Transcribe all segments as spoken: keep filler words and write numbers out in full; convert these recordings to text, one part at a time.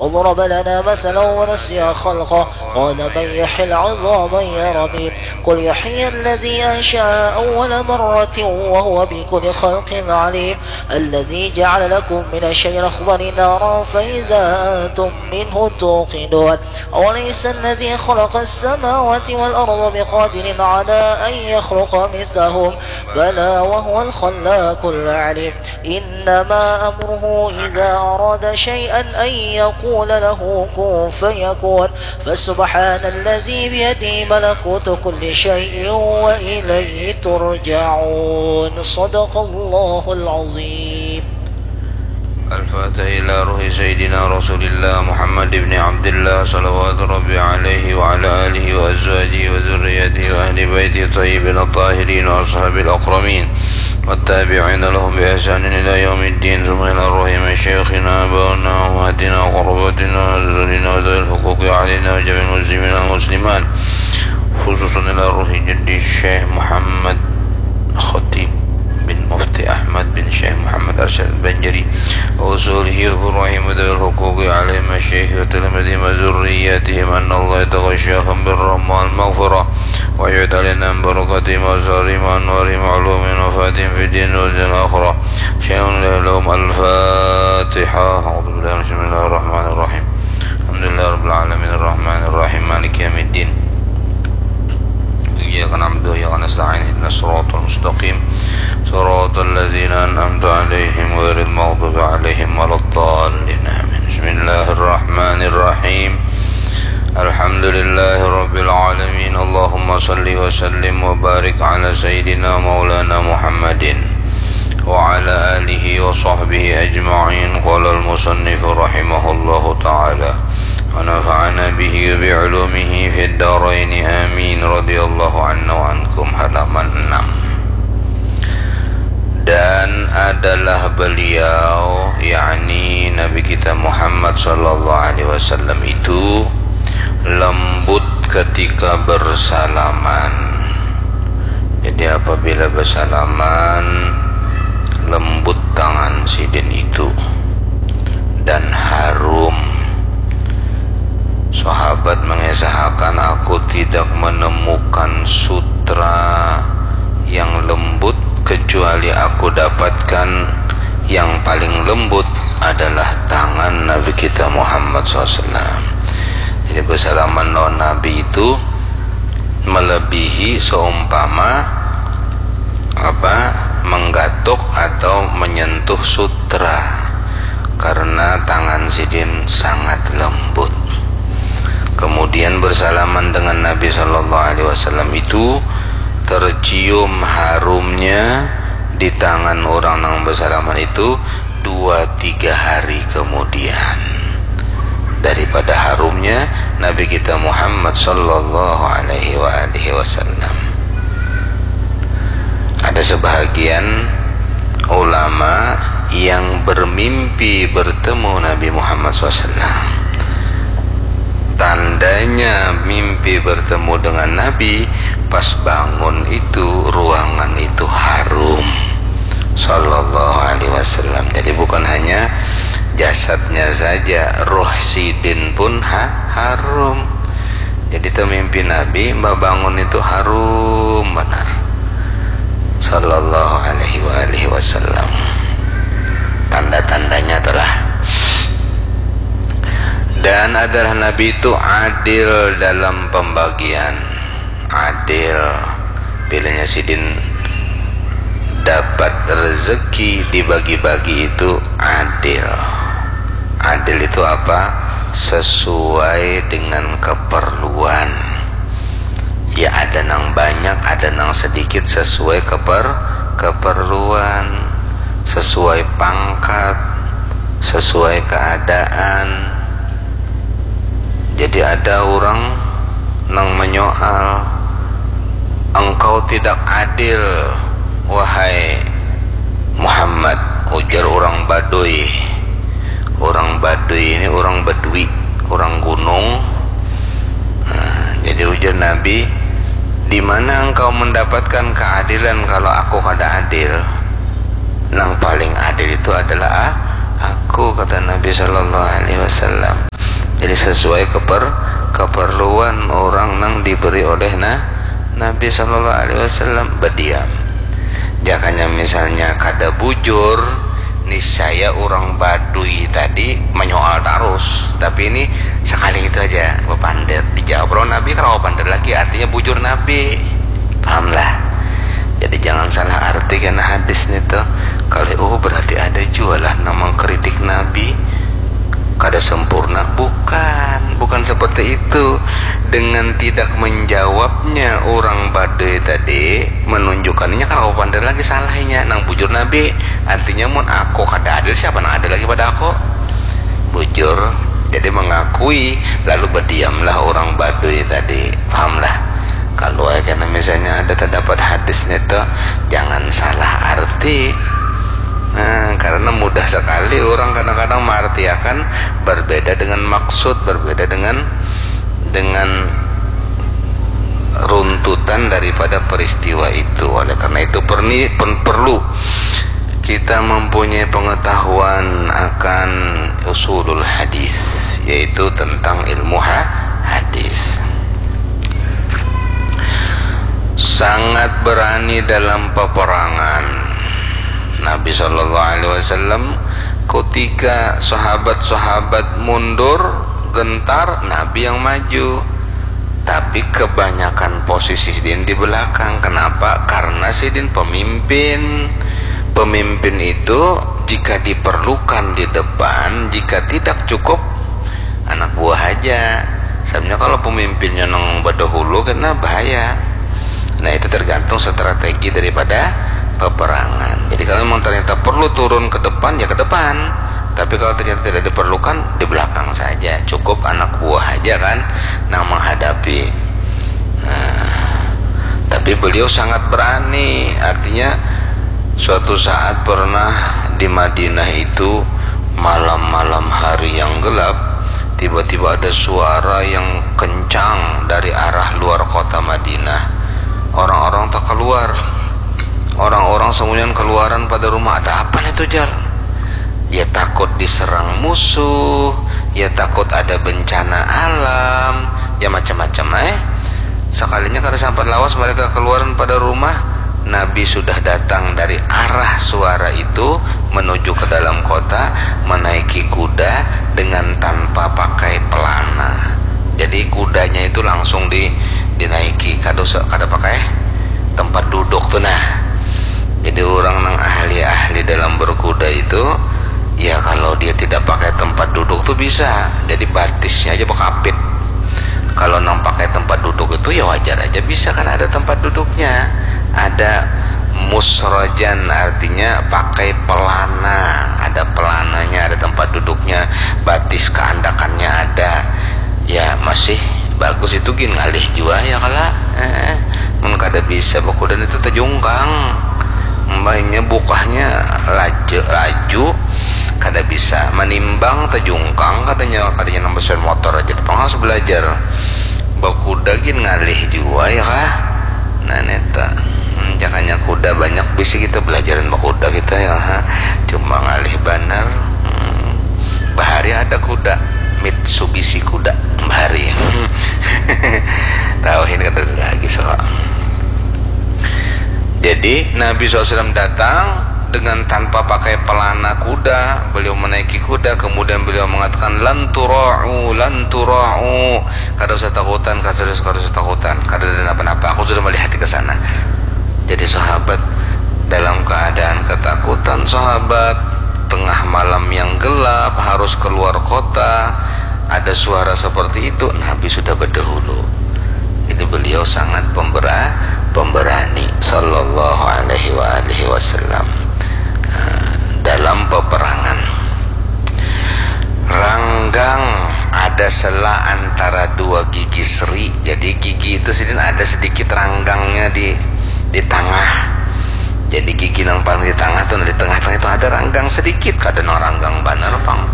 وضرب لنا مثلا ونسي خلقه قال من يحيي العظام وهي رميم قل يحييها الذي أنشأها أول مرة وهو بكل خلق عليم الذي جعل لكم من الشجر الأخضر نارا فإذا أنتم منه توقدون أوليس الذي خلق السماوات والأرض بقادر على أن يخلق مثلهم بلى وهو الخلاق العليم إنما أمره إذا أراد شيئا أن يقول له كن فيكون فسبحان الذي بيده ملكوت كل شيء وإليه ترجعون صدق الله العظيم الفاتحة إلى روح سيدنا رسول الله محمد بن عبد الله صلوات ربي عليه وعلى آله وأزواجه وذريته وأهل بيته الطيبين الطاهرين وأصحابه الأكرمين والتابعين لهم بإحسان إلى يوم الدين ثم إلى روح مشايخنا آبائنا وأمهاتنا وقراباتنا وأزواجنا وذوي الحقوق علينا وجميع المسلمين والمسلمات خصوصا إلى روح جدي الشيخ محمد خطيب بن مفتي أحمد بن شيخ محمد أرشد البنجري وأصوله وفروعهم وذوي الحقوق عليهم الشيخ وتلاميذهم وذرياتهم أن الله يتغشاهم بالرحمة والمغفرة ويعيد علينا من بركاتهم وأسرارهم وأنوارهم وعلومهم ونفحاتهم في الدين والدنيا والآخرة شيئا لا يلوم الفاتحة أعوذ بالله بسم الله الرحمن الرحيم الحمد لله رب العالمين الرحمن الرحيم مالك يوم الدين إياك نعبد وإياك نستعين اهدنا الصراط المستقيم صراط الذين أنعمت عليهم غير المغضوب عليهم ولا الضالين آمين بسم الله الرحمن الرحيم الحمد لله رب العالمين اللهم صل وسلم وبارك على سيدنا مولانا محمد وعلى آله وصحبه أجمعين قال المصنف رحمه الله تعالى ونفعنا به وبعلومه في الدارين آمين رضي الله عنا وعنكم halaman enam dan adalah beliau yakni Nabi kita Muhammad sallallahu alaihi wasallam itu lembut ketika bersalaman jadi apabila bersalaman lembut tangan sidin itu dan harum sahabat mengisahkan aku tidak menemukan sutra yang lembut kecuali aku dapatkan yang paling lembut adalah tangan Nabi kita Muhammad sallallahu alaihi wasallam jadi bersalaman lawan Nabi itu melebihi seumpama apa menggatuk atau menyentuh sutra karena tangan sidin sangat lembut. Kemudian bersalaman dengan Nabi sallallahu alaihi wasallam itu tercium harumnya di tangan orang yang bersalaman itu dua tiga hari kemudian daripada harumnya Nabi kita Muhammad sallallahu alaihi wa alihi wasallam. Ada sebahagian ulama yang bermimpi bertemu Nabi Muhammad sallallahu alaihi wasallam. Tandanya mimpi bertemu dengan Nabi pas bangun itu ruangan itu harum sallallahu alaihi wasallam. Jadi bukan hanya jasadnya saja, roh sidin pun ha harum. Jadi itu mimpi Nabi, mbak bangun itu harum benar. Sallallahu alaihi wa alihi wasallam. Tanda-tandanya telah dan adalah Nabi itu adil dalam pembagian. Adil. Bilanya sidin dapat rezeki dibagi-bagi itu adil. Adil itu apa? Sesuai dengan keperluan. Ya ada nang banyak, ada nang sedikit sesuai keper keperluan, sesuai pangkat, sesuai keadaan. Jadi ada orang nang menyoal, engkau tidak adil wahai Muhammad, ujar orang Baduy. Orang Baduy ini orang Bedui, orang gunung. Nah, jadi ujar Nabi, di mana engkau mendapatkan keadilan kalau aku kada adil? Nang paling adil itu adalah aku, kata Nabi Shallallahu Alaihi Wasallam. Jadi sesuai keper, keperluan orang nang diberi oleh na, Nabi Shallallahu Alaihi Wasallam. Berdiam. Jakanya misalnya kada bujur, niscaya orang Badui tadi menyoal terus. Tapi ini sekali itu aja bepander. Dijawab orang Nabi, kalau bepander lagi, artinya bujur Nabi. Pahamlah? Jadi jangan salah arti kena hadis nih tuh. Kalau oh, berarti ada juga lah nang mengkritik Nabi, kada sempurna. Bukan, bukan seperti itu. Dengan tidak menjawabnya orang Badui tadi, menunjukkannya kalau bepander lagi salahnya. Nang bujur Nabi, artinya mun aku kada adil, siapa nang adil lagi pada aku? Bujur. Jadi mengakui, lalu berdiamlah orang Badui tadi. Pahamlah? Kalau kena misalnya ada terdapat hadis nih tuh, jangan salah arti. Nah, karena mudah sekali orang kadang-kadang mengartiakan berbeda dengan maksud, berbeda dengan dengan runtutan daripada peristiwa itu. Oleh karena itu perni, pen, perlu kita mempunyai pengetahuan akan usulul hadis, yaitu tentang ilmu ha, hadis. Sangat berani dalam peperangan. Nabi Shallallahu Alaihi Wasallam, ketika sahabat-sahabat mundur gentar, Nabi yang maju. Tapi kebanyakan posisi sidin di belakang. Kenapa? Karena sidin pemimpin. Pemimpin itu jika diperlukan di depan, jika tidak cukup anak buah aja. Sebenarnya kalau pemimpinnya nang berdahulu kena bahaya. Nah, itu tergantung strategi daripada peperangan. Jadi kalau memang ternyata perlu turun ke depan, ya ke depan. Tapi kalau ternyata tidak diperlukan, di belakang saja. Cukup anak buah aja kan nang menghadapi. Nah, tapi beliau sangat berani. Artinya suatu saat pernah di Madinah itu malam-malam hari yang gelap, tiba-tiba ada suara yang kencang dari arah luar kota Madinah. Orang-orang tak keluar. Orang-orang semuanya keluaran pada rumah. Ada apa nih tuh, jar? Ya takut diserang musuh, ya takut ada bencana alam, ya macam-macam eh. Sekalinya kada sampai lawas mereka keluaran pada rumah, Nabi sudah datang dari arah suara itu menuju ke dalam kota, menaiki kuda dengan tanpa pakai pelana. Jadi kudanya itu langsung di, dinaiki, kada usah, kada pakai tempat duduk tuh nah. Jadi orang nang ahli-ahli dalam berkuda itu, ya kalau dia tidak pakai tempat duduk tuh bisa. Jadi batisnya aja bekapit. Kalau nang pakai tempat duduk itu ya wajar aja bisa kan ada tempat duduknya. Ada musrojan, artinya pakai pelana, ada pelananya, ada tempat duduknya, batis keandakannya ada. Ya masih bagus itu gin ngalih jua ya kala. Eh, mun kada bisa bakudan itu tejungkang, mainnya bukahnya laju, laju kada bisa manimbang, tejungkang katanya, katanya nang bersepeda motor aja pang harus belajar. Bakuda gin ngalih jua ya kah? Nah neta, hmm, jakanya kuda banyak bisi kita belajaran bakuda kita ya ha. Cuma ngalih banar. Hmm. Bahari ada kuda, Mitsubishi kuda bahari. Tahu ini kada ada lagi so. Jadi Nabi sallallahu alaihi wasallam datang dengan tanpa pakai pelana kuda, beliau menaiki kuda, kemudian beliau mengatakan, "Lan tura'u, lan tura'u." Kada usah takutan, kada usah, kada usah takutan, kada ada napa-napa, aku sudah melihat ke sana. Jadi sahabat dalam keadaan ketakutan, sahabat tengah malam yang gelap harus keluar kota, ada suara seperti itu, Nabi sudah berdahulu. Jadi beliau sangat pembera, pemberani sallallahu alaihi wa alihi wasallam, eh, dalam peperangan. Ranggang, ada sela antara dua gigi seri. Jadi gigi itu sidin ada sedikit ranggangnya di di tengah. Jadi gigi nang paling di tengah tuh, di tengah-tengah itu ada ranggang sedikit, kada nang ranggang banar pang.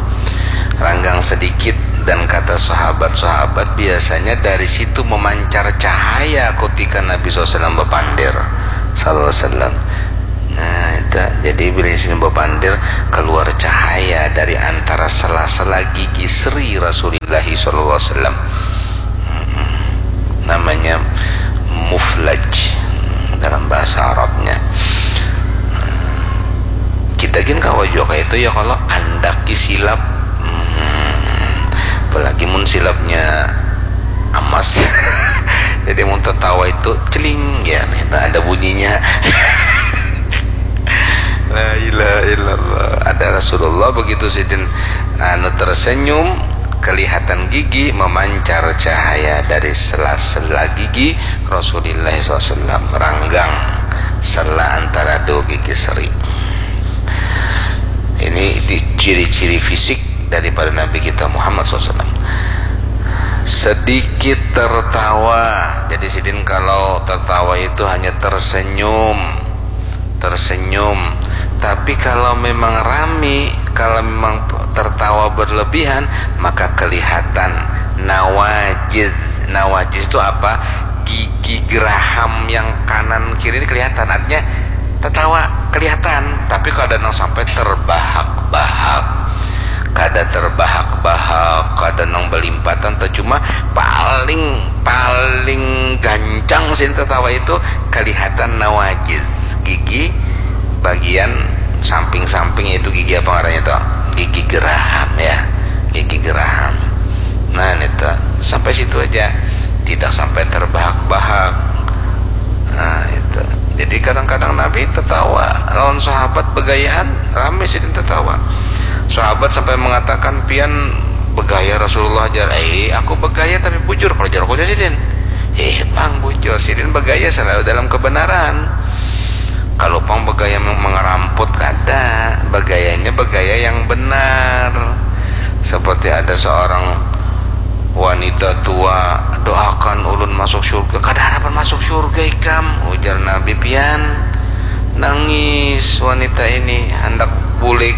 Ranggang sedikit, dan kata sahabat-sahabat biasanya dari situ memancar cahaya ketika Nabi sallallahu alaihi wasallam bepander. Sallallahu alaihi wasallam. Nah, Jadi bila sini bapandir, keluar cahaya dari antara sela-sela gigi seri Rasulillahi sallallahu alaihi wasallam. Namanya muflaj dalam bahasa Arabnya. Kita gin kawa jua kaya itu ya, kalau andaki silap. Hmm, apalagi mun silapnya amas. Jadi mun tertawa itu celing ya, itu ada bunyinya. La ilaha illallah. Ada Rasulullah begitu sidin anu tersenyum, kelihatan gigi memancar cahaya dari sela-sela gigi Rasulullah sallallahu alaihi wasallam, ranggang sela antara dua gigi seri. Ini ciri-ciri fisik daripada Nabi kita Muhammad sallallahu alaihi wasallam. Sedikit tertawa. Jadi sidin kalau tertawa itu hanya tersenyum, tersenyum. Tapi kalau memang rami, kalau memang tertawa berlebihan, maka kelihatan nawajiz. Nawajiz itu apa? Gigi geraham yang kanan kiri ini kelihatan. Artinya tertawa kelihatan, tapi kada nang sampai terbahak-bahak. Kada terbahak-bahak, kada nang belimpatan, atau cuma paling paling gancang sih tertawa itu kelihatan nawajiz, gigi bagian samping-samping, yaitu gigi apa ngarannya tuh? Gigi geraham ya, gigi geraham. Nah, itu sampai situ aja, tidak sampai terbahak-bahak. Nah, itu. Jadi kadang-kadang Nabi tertawa lawan sahabat begayaan, rame sidin tertawa. Sahabat sampai mengatakan, "Pian begaya Rasulullah," jar. "Eh, aku begaya tapi bujur," kalau jar aku sidin. Eh, pang bujur, sidin begaya selalu dalam kebenaran. Kalau pang begaya meng-, mengeramput, kada, begayanya begaya yang benar. Seperti ada seorang wanita tua, "Doakan ulun masuk surga." "Kada harapan masuk surga ikam," ujar Nabi. "Pian." Nangis wanita ini, hendak bulik,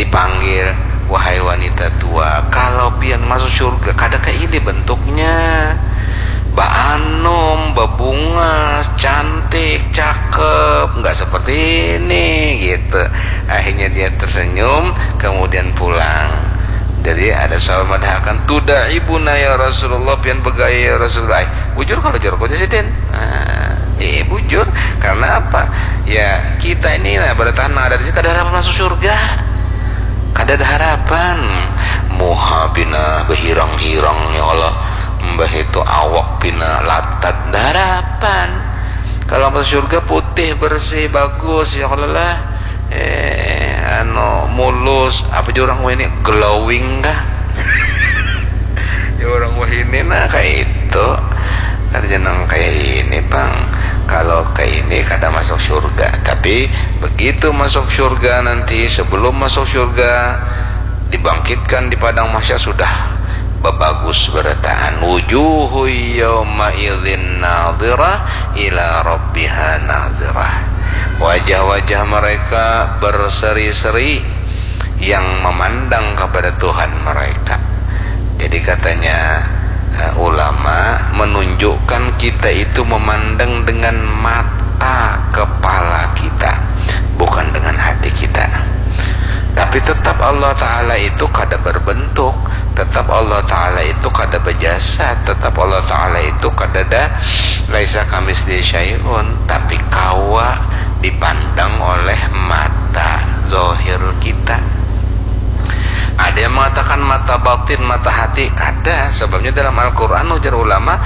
dipanggil, "Wahai wanita tua, kalau pian masuk surga, kada kaini bentuknya. Baanom, babungas, cantik, cakep, nggak seperti ini," gitu. Akhirnya dia tersenyum, kemudian pulang. Jadi ada sahabat madahakan, "Tudaibuna ya Rasulullah, pian begaya ya Rasulullah." "Ay, bujur kalau jar aku aja sidin." Nah, iya, bujur. Karena apa? Ya, kita ini, nah, bertahan ada di sini, kada harapan masuk surga. Kada ada harapan. Muha pina behirang-hirang, ya Allah. Mbah itu awak pina latat, ada harapan. Kalau masuk surga putih, bersih, bagus, ya Allah lah. Eh, anu, mulus, apa juga orang ini, glowing kah? Ya, orang wahini nah kayak itu. Kada jangan kayak ini, pang. Kalau kayak ini kada masuk surga. Tapi begitu masuk surga nanti, sebelum masuk surga, dibangkitkan di padang mahsyar sudah babagus berataan. Wujuhu yauma'idzin nadhirah ila rabbiha nadhirah. Wajah-wajah mereka berseri-seri yang memandang kepada Tuhan mereka. Jadi katanya, eh, ulama menunjukkan kita itu memandang dengan mata kepala kita, bukan dengan hati kita. Tapi tetap Allah Ta'ala itu kada berbentuk, tetap Allah Ta'ala itu kada berjasa, tetap Allah Ta'ala itu kada ada, laisa kamitslihi syai'un, tapi kawa dipandang oleh mata zahir kita. Ada yang mengatakan mata batin, mata hati, kada. Sebabnya dalam Al-Quran, ujar ulama,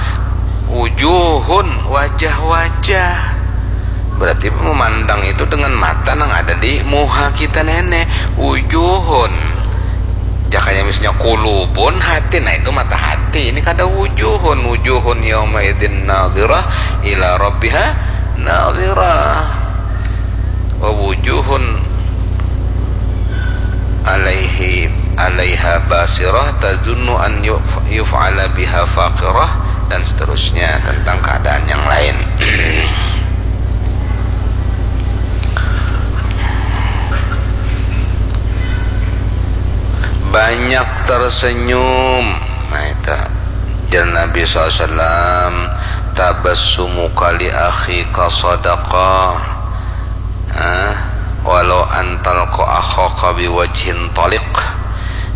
wujuhun, wajah-wajah. Berarti memandang itu dengan mata yang ada di muha kita nene. Wujuhun. Jakanya misalnya kulubun, hati, nah itu mata hati. Ini kada wujuhun. Wujuhun yauma'idzin nadhirah ila rabbiha nadhirah. Wa wujuhun alaihi, alaiha basirah, tazunnu an yuf-, yuf'ala biha faqirah, dan seterusnya tentang keadaan yang lain. Banyak tersenyum. Nah, itu jar Nabi sallallahu alaihi wasallam, "Tabassumuka li akhika sadaqah." Ah, Walau antal ko akhoka biwajhin tolik.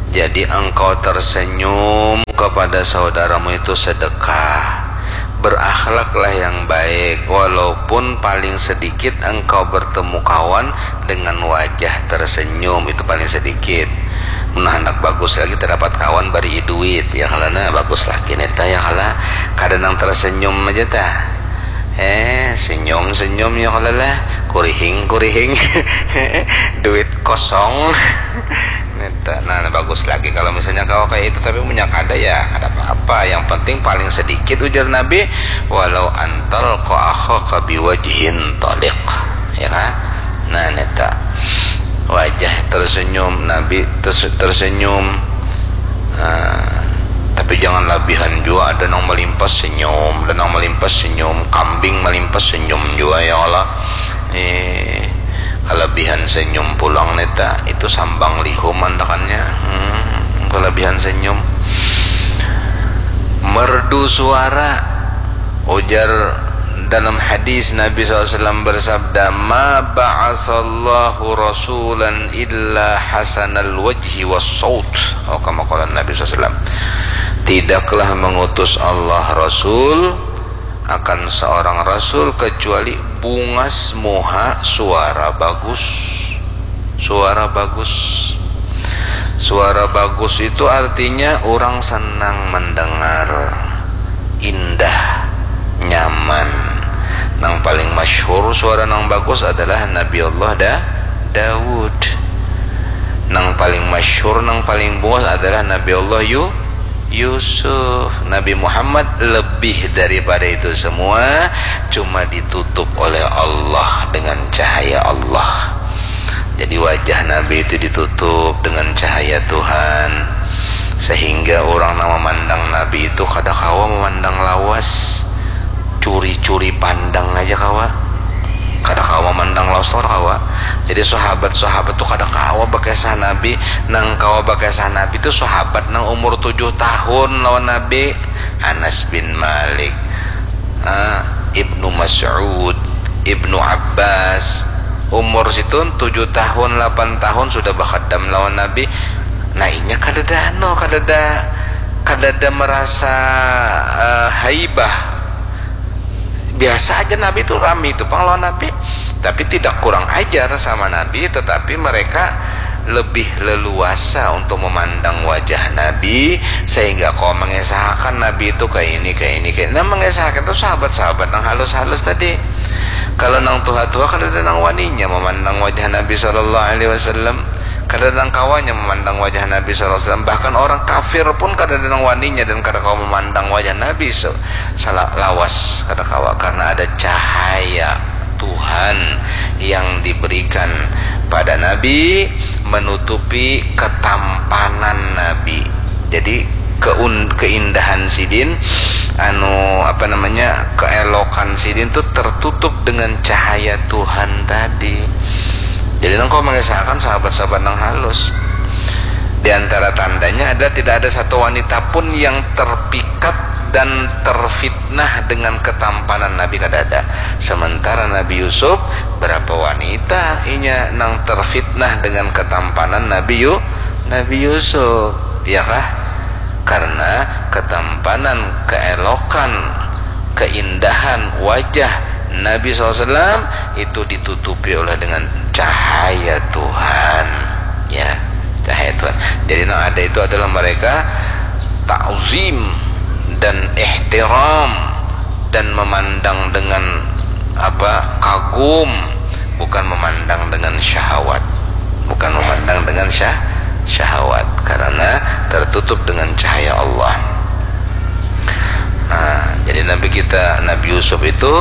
Jadi engkau tersenyum kepada saudaramu itu sedekah. Berakhlaklah yang baik, walaupun paling sedikit engkau bertemu kawan dengan wajah tersenyum, itu paling sedikit. Mun handak bagus lagi, terdapat kawan bari duit, ya kala, nah, bagus lagi neta, ya kala. Kada nang tersenyum aja tah. Eh, senyum-senyum, ya kala lah. Kurihing-kurihing. Duit kosong. Neta, nah, bagus lagi kalau misalnya kawa kayak itu, tapi punya kada ya, kada apa-apa. Yang penting paling sedikit, ujar Nabi, walau antal ko akhoka biwajhin tolik. Ya kan? Nah, neta. Wajah tersenyum, Nabi terse-, tersenyum. Nah, tapi jangan labihan jua, ada nang malimpas senyum, ada nang malimpas senyum, kambing malimpas senyum jua, ya Allah. Eh, kelebihan senyum pulang neta, itu sambang lihum andakannya. Hmm, kelebihan senyum. Merdu suara, ujar dalam hadis Nabi sallallahu alaihi wasallam bersabda, "Ma ba'asallahu rasulan illa hasanal wajhi was saut." Oh, kama qala Nabi sallallahu alaihi wasallam. Tidaklah mengutus Allah Rasul, akan seorang Rasul, kecuali bungas muha, suara bagus. Suara bagus. Suara bagus itu artinya orang senang mendengar, indah, nyaman. Nang paling masyhur suara nang bagus adalah Nabi Allah Da-, Daud. Nang paling masyhur, nang paling bungas adalah Nabi Allah Yu-, Yusuf. Nabi Muhammad lebih daripada itu semua, cuma ditutup oleh Allah dengan cahaya Allah. Jadi wajah Nabi itu ditutup dengan cahaya Tuhan, sehingga orang nang memandang Nabi itu kada kawa memandang lawas, curi-curi pandang aja kawa. Kada kawa memandang lawas tuh, kada kawa. Jadi sahabat-sahabat tuh kada kawa bakisah Nabi. Nang kawa bakisah Nabi tuh sahabat nang umur tujuh tahun lawan Nabi, Anas bin Malik, ah, Ibnu Mas'ud, Ibnu Abbas, umur situn tujuh tahun, lapan tahun sudah bakadam lawan Nabi. Nah, inya kadada anu, kadada, kadada merasa, eh, haibah. Biasa aja Nabi itu, rami itu pang lawan Nabi. Tapi tidak kurang ajar sama Nabi, tetapi mereka lebih leluasa untuk memandang wajah Nabi, sehingga kau mengisahkan Nabi itu kayak ini, kayak ini, kayak ini. Nah, mengisahkan itu sahabat-sahabat nang halus-halus tadi. Kalau nang tuha-tuha, kada ada nang waninya memandang wajah Nabi sallallahu alaihi wasallam. Kada ada nang kawanya memandang wajah Nabi sallallahu alaihi wasallam. Bahkan orang kafir pun kada ada nang waninya dan kada kawa memandang wajah Nabi se-, sala-, lawas, kada kawa, karena ada cahaya Tuhan yang diberikan pada Nabi menutupi ketampanan Nabi. Jadi keun-, keindahan sidin, anu, apa namanya, keelokan sidin tuh tertutup dengan cahaya Tuhan tadi. Jadi nang kau mengisahkan sahabat-sahabat nang halus. Di antara tandanya adalah tidak ada satu wanita pun yang terpikat dan terfitnah dengan ketampanan Nabi, kada ada. Sementara Nabi Yusuf, berapa wanita inya nang terfitnah dengan ketampanan Nabi Yu-, Nabi Yusuf, ya kah? Karena ketampanan, keelokan, keindahan wajah Nabi sallallahu alaihi wasallam itu ditutupi oleh dengan cahaya Tuhan, ya, cahaya Tuhan. Jadi nang ada itu adalah mereka ta'zim dan ihtiram dan memandang dengan apa, kagum, bukan memandang dengan syahwat, bukan memandang dengan syah-, syahwat, karena tertutup dengan cahaya Allah. Nah, jadi Nabi kita, Nabi Yusuf itu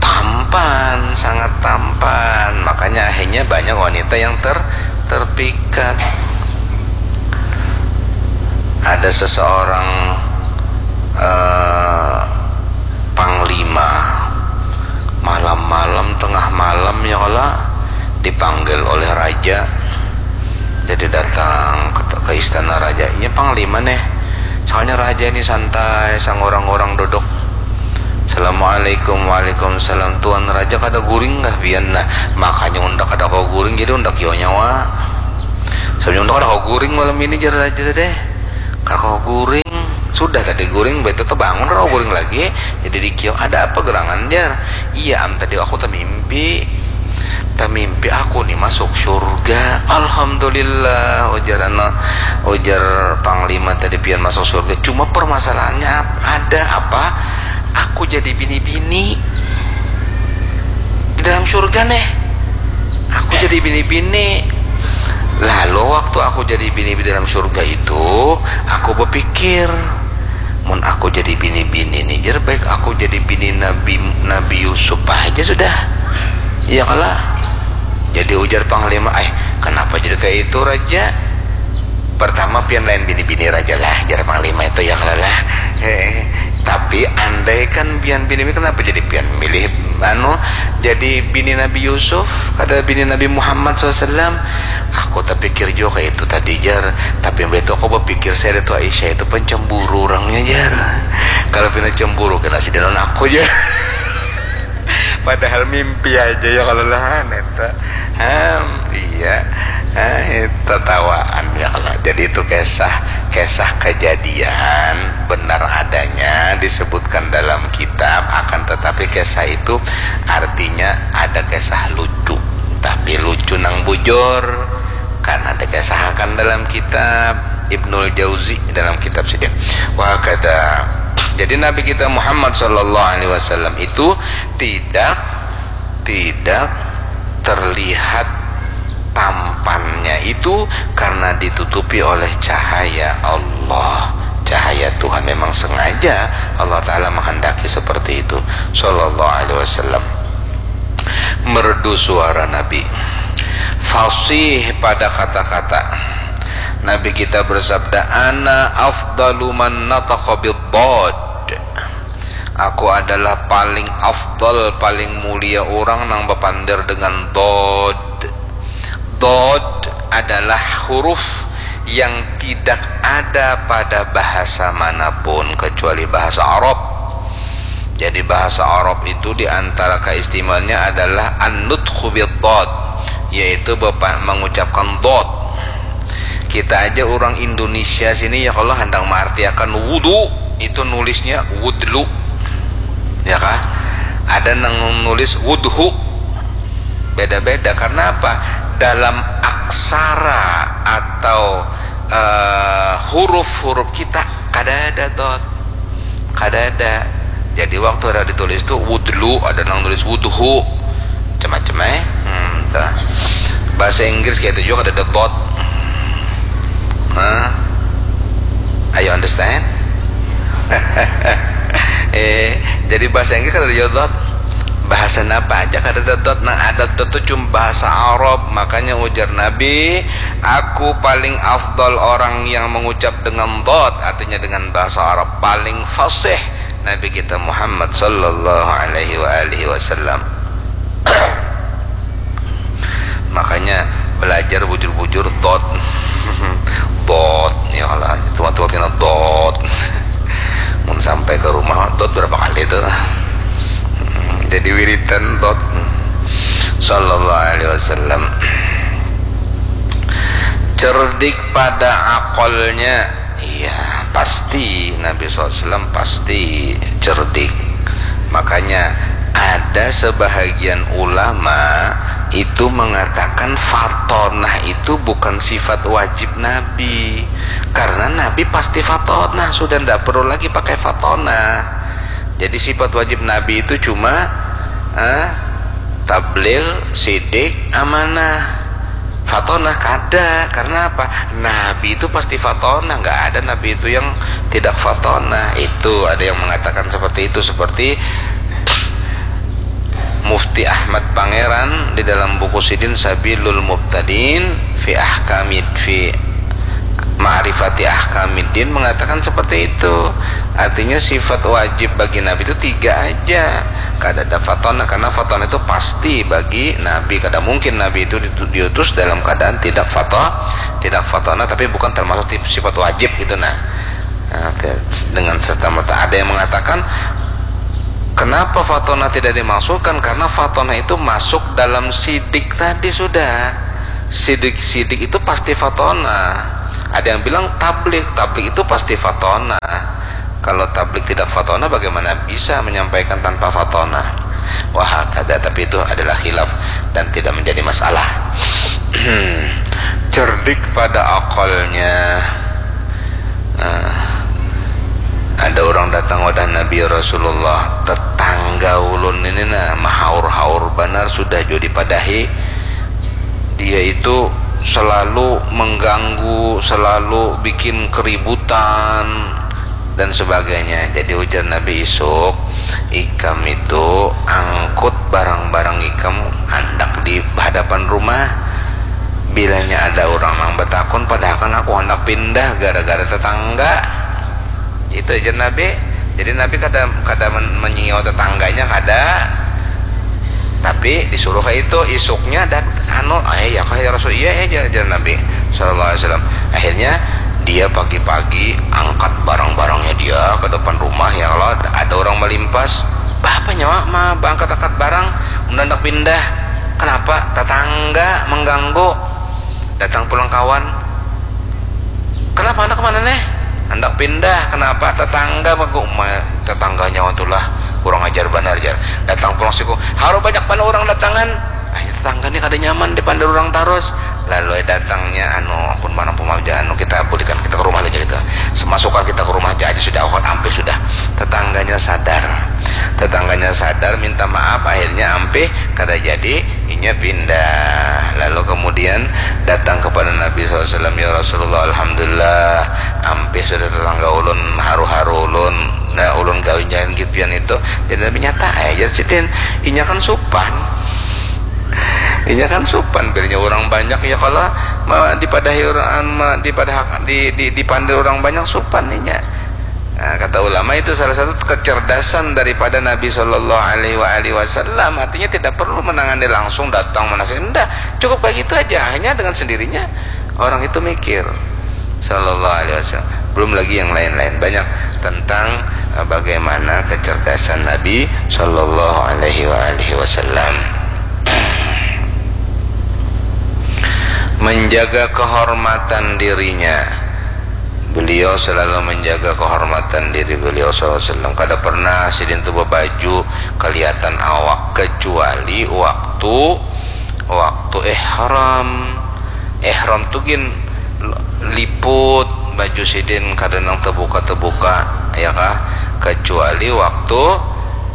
tampan, sangat tampan, makanya akhirnya banyak wanita yang ter-, terpikat. Ada seseorang, eh, panglima, malam-malam, tengah malam ya kala, dipanggil oleh raja. Jadi datang ke, ke istana raja. Ini panglima nih. Soalnya raja ini santai, sangorang-orang duduk. Assalamualaikum. Waalaikumsalam. Tuan Raja, kada guring kah pian? Nah, makanya unda kada kawa guring, jadi unda kio nyawa. Sababnya unda kada kawa guring malam ini, jar Raja tadi. Kada kawa guring. Sudah tadi guring, betul tebangun, kada kawa guring lagi. Jadi dikio, "Ada apa gerangan, jar?" "Iya am, tadi aku tamimpi. Tamimpi aku nih masuk surga." "Alhamdulillah," ujar anu, ujar Panglima tadi, "pian masuk surga. Cuma permasalahannya ap-, ada apa? Aku jadi bini-bini di dalam surga nih. Aku jadi bini-bini." "Lalu waktu aku jadi bini di dalam surga itu, aku berpikir, mun aku jadi bini-bini nih, jar, baik aku jadi bini Nabi, Nabi Yusuf aja sudah. Iya kala?" Jadi ujar Panglima, "Eh, kenapa jadi kayak itu, Raja? Pertama, pian lain bini-bini Raja lah," jar Panglima itu, "ya kala lah. Eh, tapi andaikan pian bini, kenapa jadi pian milih, anu, jadi bini Nabi Yusuf, kada bini Nabi Muhammad sallallahu alaihi wasallam?" "Aku terpikir juga kayak itu tadi, jar. Tapi begitu aku berpikir, saya itu Aisyah itu pencemburu orangnya, jar. Kalau pina cemburu, kena si danon aku, jar." Padahal mimpi aja, ya kala lah, neta. Ham, iya. Ah, itu tawaan, ya kala. Jadi itu kisah, kisah kejadian benar adanya, disebutkan dalam kitab, akan tetapi kisah itu artinya ada kisah lucu. Tapi lucu nang bujur, kan ada kisah akan dalam kitab Ibnul Jauzi, dalam kitab sidin. Wa hakadha. Jadi Nabi kita Muhammad sallallahu alaihi wasallam itu tidak, tidak terlihat tampannya itu karena ditutupi oleh cahaya Allah. Cahaya Tuhan, memang sengaja Allah Ta'ala menghendaki seperti itu. Sallallahu alaihi wasallam. Merdu suara Nabi. Fasih pada kata-kata. Nabi kita bersabda, "Ana afdalu man nataqa bid-dhad." Aku adalah paling afdal, paling mulia orang nang bapander dengan dhad. Dhad adalah huruf yang tidak ada pada bahasa manapun kecuali bahasa Arab. Jadi bahasa Arab itu di antara keistimewaannya adalah an-nutqu bid-dhad, yaitu bepa-, mengucapkan dhad. Kita aja orang Indonesia sini, ya, kalau handang maartiakan wudu, itu nulisnya wudlu. Ya kah? Ada nang nulis wudhu. Beda-beda. Karena apa? Dalam aksara atau, eh, huruf-huruf kita kada ada dhad. Kada ada. Jadi waktu ada ditulis tu wudlu, ada nang nulis wudhu. Macam-macam, eh. Hmm, tuh. Bahasa Inggris kayak itu juga, kada ada dhad. Hah? Are you understand? Eh, jadi bahasa Inggris kada ada dhad. Bahasa napa aja kada ada dhad. Nang ada dhad tu cuma bahasa Arab. Makanya ujar Nabi, "Aku paling afdal orang yang mengucap dengan dhad," artinya dengan bahasa Arab, paling fasih, Nabi kita Muhammad sallallahu alaihi wa alihi wasallam. Makanya belajar bujur-bujur dhad. Dhad, ya lah, tuan-tuan kena dhad. Mun sampai ke rumah, dhad berapa kali tu? Hmm, jadi wiridan dhad. Sallallahu alaihi wasallam. Cerdik pada akalnya. Iya, pasti Nabi sallallahu alaihi wasallam pasti cerdik. Makanya ada sebahagian ulama itu mengatakan fatonah itu bukan sifat wajib Nabi. Karena Nabi pasti fatonah, sudah ndak perlu lagi pakai fatonah. Jadi sifat wajib Nabi itu cuma, eh, tabligh, sidik, amanah. Fatonah kada. Karena apa? Nabi itu pasti fatonah, nggak ada Nabi itu yang tidak fatonah. Itu ada yang mengatakan seperti itu, seperti Mufti Ahmad Pangeran di dalam buku sidin Sabilul Mubtadin fi Ahkamid, fi Ma'rifati Ahkamiddin mengatakan seperti itu. Artinya sifat wajib bagi Nabi itu tiga aja. Kada ada fatonah, karena fatonah itu pasti bagi Nabi. Kada mungkin Nabi itu ditu-, diutus dalam keadaan tidak fato-, tidak fatonah, tapi bukan termasuk tip-, sifat wajib gitu. Nah, nah, te-, dengan serta merta ada yang mengatakan Kenapa fatonah tidak dimasukkan? Karena fatonah itu masuk dalam sidik tadi sudah. Sidik-sidik itu pasti fatonah. Ada yang bilang tablik, tablik itu pasti fatonah. Kalau tablik tidak fatonah, bagaimana bisa menyampaikan tanpa fatonah? Wahakada, tapi itu adalah khilaf dan tidak menjadi masalah. Cerdik pada akalnya. Nah, ada orang datang wadah Nabi, "Ya Rasulullah, tetangga ulun ini nah mahaur-haur banar, sudah jua dipadahi. Dia itu selalu mengganggu, selalu bikin keributan dan sebagainya." Jadi ujar Nabi, "Isuk ikam itu angkut barang-barang ikam, handak di hadapan rumah. Bilanya ada orang nang batakun, padahakan aku handak pindah gara-gara tetangga." Itu aja Nabi. Jadi Nabi kada kada men- menyinggung tetangganya, kada. Tapi disuruh kayak itu, isuknya dat anu, "Eh, ya kah ya Rasul?" "Iya, ya," jar, jar Nabi sallallahu alaihi wasallam. Akhirnya dia pagi-pagi angkat barang-barangnya dia ke depan rumah, ya, kalau ada orang melimpas, "Bah, apa nyawa ma angkat-angkat barang, mun handak pindah?" "Kenapa?" "Tetangga mengganggu." Datang pulang kawan, "Kenapa, handak kemana neh?" "Handak pindah." "Kenapa?" "Tetangga mengganggu." "Ma, tetangganya tuh lah kurang ajar banar," jar. Datang pulang siku, "Haru banyak banar orang datangan." "Ah, tetangga nih kada nyaman dipandir orang tarus." Lalu datangnya anu, "Ampun, mana pun aja, anu, kita bulikan, kita ke rumah aja kita. Semasukkan kita ke rumah aja, aja sudah, ampih sudah." Tetangganya sadar. Tetangganya sadar, minta maaf, akhirnya ampih kada jadi, inya pindah. Lalu kemudian datang kepada Nabi sallallahu alaihi wasallam, "Ya Rasulullah, alhamdulillah, ampih sudah tetangga ulun, haru-haru ulun. Nah, ulun gawi jangan gitu pian itu." Jadi Nabi, "Nyata aja sidin, inya kan supan." Inya kan supan, bilanya orang banyak, ya kalau ma, dipadahi orang, ma, dipadah, di, di, dipandir orang banyak, supan inya. Nah, kata ulama, itu salah satu kecerdasan daripada Nabi Shallallahu Alaihi Wasallam. Artinya tidak perlu menangani langsung, datang menasih, enggak, cukup kayak gitu aja, hanya dengan sendirinya orang itu mikir. Shallallahu Alaihi Wasallam. Belum lagi yang lain-lain, banyak tentang eh, bagaimana kecerdasan Nabi Shallallahu Alaihi Wasallam. Menjaga kehormatan dirinya. Beliau selalu menjaga kehormatan diri beliau sallallahu alaihi wasallam. Kada pernah sidin tu bebaju kelihatan awak, kecuali waktu, waktu ihram. Ihram tu gin liput baju sidin, kada nang tebuka-tebuka, ya kah? Kecuali waktu,